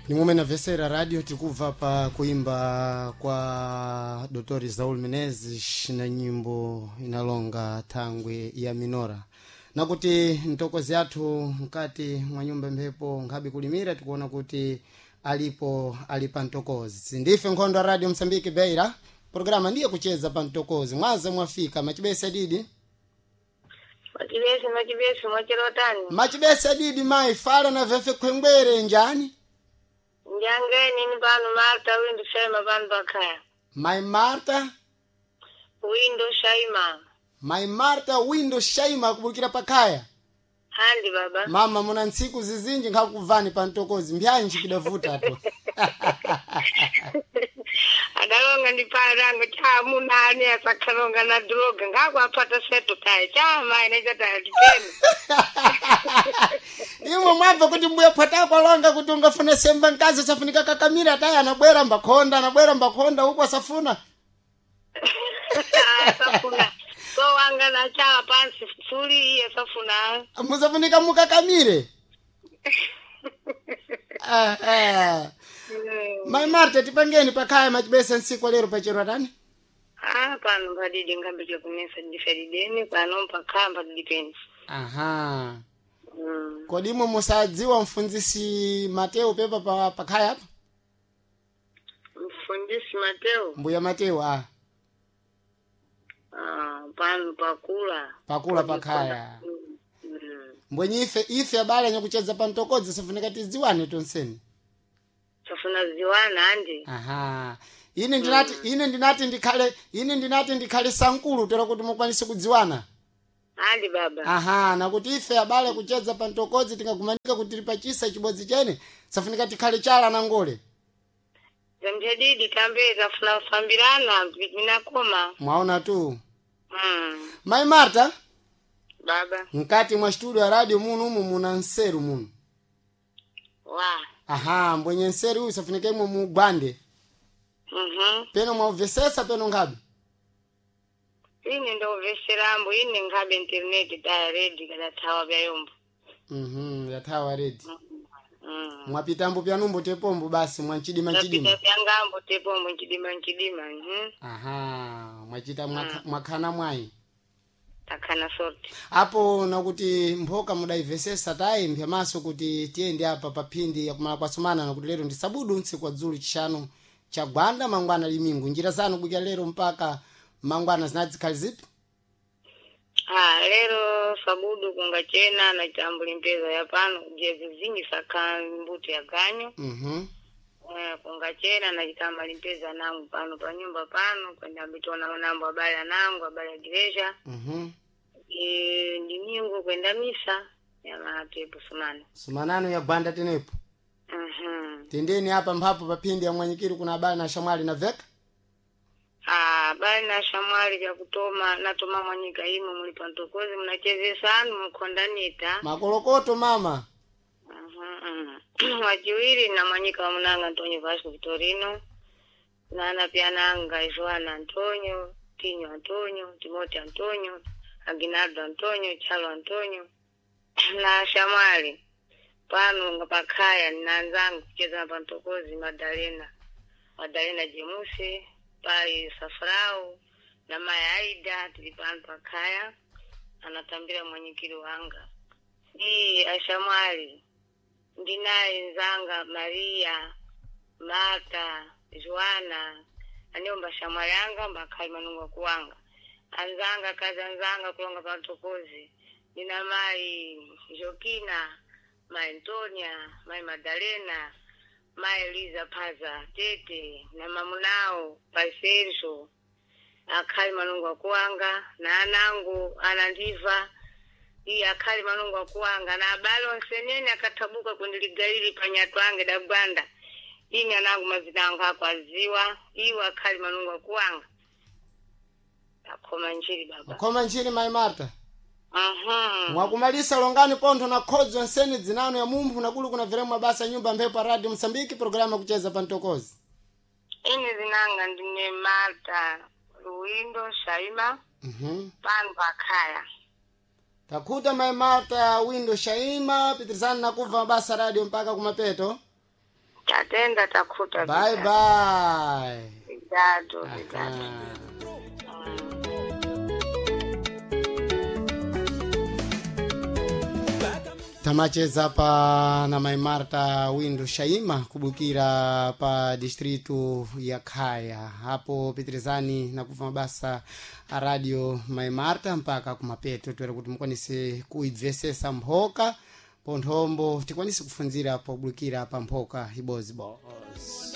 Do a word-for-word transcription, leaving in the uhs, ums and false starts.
Nimumene na radio tikubva pa kuimba kwa Dr Saul Menezes na nyimbo inalonga thangwi ya minora nakuti mtokozi athu mkati mwa nyumba mphepo nkhabe kulimira tikuona kuti alipo ali pa mtokozi. Ndife nkhondo ya Radio Msambiki Beira, programa ndiye kucheza pa mtokozi. Mwaze mwafika machibese didi. Machibese, machibese, mwachirotani. Machibese didi mai fala na vefe khwengwere njani. Njangeni ni pano Marta Windo Shaima pano pakhaya. Mai Marta. Windo Shaima. Mai Marta Windo Shaima kubukira pakhaya. Handi baba. Mama muna ntsiku zizinji nkhakuvani pa mtokozi mbyanji kidavuta to. Adalonga ndi parango cha munani asakhalonga na droga ngakwapata seto taye cha mai nechataya tipeni. Imwe mwabva kuti mbuya phatako alonga kuti ungafuna semba mkazi asafunika kakamira taye anabwera mbakhonda anabwera mbakhonda uku asafuna. Asafuna. So wanga na chawa pansi suli iye asafuna. Musafunika mukakamire. Ah, ah. Mai Marta tipangeni pakhaya machibesa ntsiku lero pachero tani. Ah, pano padidi ngambe kunesa ndiferideni pano pakhaya padidi peni. Aha. Mm. Kodi imwe musadziwa mfunzisi Mateo pepa pa pakhaya apa? Mfundisi Mateo. Mbuya Mateo ah. Ah, pano pakula. Pakula pakhaya. Mm. Mm. Mbwenye ife ife abale nyakucheza pa mtokodzi safunika tidziwane tonseni. Safuna ziwana andi. Aha. Ine ndinati ine ndinati ndikhale ine ndinati ndikhale sankulu tera kuti mukwanise kudziwana. Andi baba. Aha, nakuti ife abale kucheza pa mtokodzi tingagumanika kuti tili pachisa chibodzi chene safunika tikhale chala na ngole. Zamchadidi tambe tafuna kufambirana minakoma. Mwaona tu. Mm. Mai Marta, Baba. mkati mwa studio ya radio muno umu muna nseru muno. Wa. Aha, mbwenye nseru uyu safunika imwe mugwande. Mhm. Peno mwauvesesa peno ngabe. Ine ndoveserambo ine ngabe internet taya ready kada thawa byayombo. Mhm, yathawa ready. Mm. Mwapitambo pyanumbo tepombo basi mwanchidima nchidima. Tapita byangambo tepombo nchidima nchidima. Mhm. Aha, mwachita mwakha- mwakhana mwayi. Takhana sorti. Apo nakuti mphoka mudaivesesa tayi mphyamaso kuti tiyende apa pa phindi yakumala kwasumana nakuti lero ndi sabudu ntsiku wadzulu chishanu cha gwanda mangwana limingu njira zanu kubwikira lero mpaka mangwana zinadzikhali zipi. Ah, lero sabudu kungachena na chambuli mpeza ya pano jezi zingi saka mbuto ya ganyo. Mhm. Eh, kungachena na chitamba limpeza nangu pano pa nyumba pano kwenda mbitona nambo abale anangu abale ya igreja. Mhm. E, ndimingu kwenda misa ya matepo sumana. Sumanano ya gwanda tenepo. Mhm. Tendeni apa mphapo pa phindi ya mwanyikiri kuna abale na shamwali na veka. Ah, bali na shamwali vya kutoma natoma mwanyika imo muli pantokozi mnachezesanu mkhondanita. Makolokoto mama. Mhm. Wachiwiri na mwanyika wa munanga Antonio Vasco Vitorino nana pia nanga Joana Antonio Tinho Antonio Timothy Antonio Aguinaldo Antonio Chalo Antonio na Shamwali pano nga pakhaya nanzangu kucheza pa Ntokozi Madalena Madalena Jemusi pai Safrau na mai Aida tili pano pakhaya anatambira mwanyikiri wanga iyi ashamwali ndinaye nzanga Maria Marta Joana aniomba shamwali anga mbakhali manungo kuwanga anzanga kazi anzanga kulonga pantokozi ndina mai Jokina mai Antonia mai Madalena mai Eliza Paza Tete na mamunao pai Sergio akhali manungo akuwanga na anangu anandiva iye akhali manungo akuwanga na abale onse nene akathabuka kundiligalili panyatu ange dabwanda ine anangu mazina angu akwaziwa iwo akhali manungo akuwanga akhoma njiri baba. Khoma nchini mai Marta. Mhm. Mwakumalisa longani pontho na khodzo nseni dzinano ya mumphu nakulu kuna veremwa basa nyumba mphepo pa radio Msambiki programa kucheza pa mtokozi. Ine zinanga ndine Marta Luwindo Shaima Mhm. pano pakhaya. Takhuta mai Marta Windo Shaima pitirizani nakubva mabasa radio mpaka kumapeto. Tatenda takhuta. Bye bye. Obrigado, obrigado. Aha. Tamacheza pa na mai Marta Windu Shaima kubukira pa distritu ya Khaya hapo pitirizani na kuva mabasa a radio mai Marta mpaka kumapeto twere kuti mukwanise kuibvesesa mphoka ponthombo tikwanise kufunzira pobukira pa mphoka ibozibozi.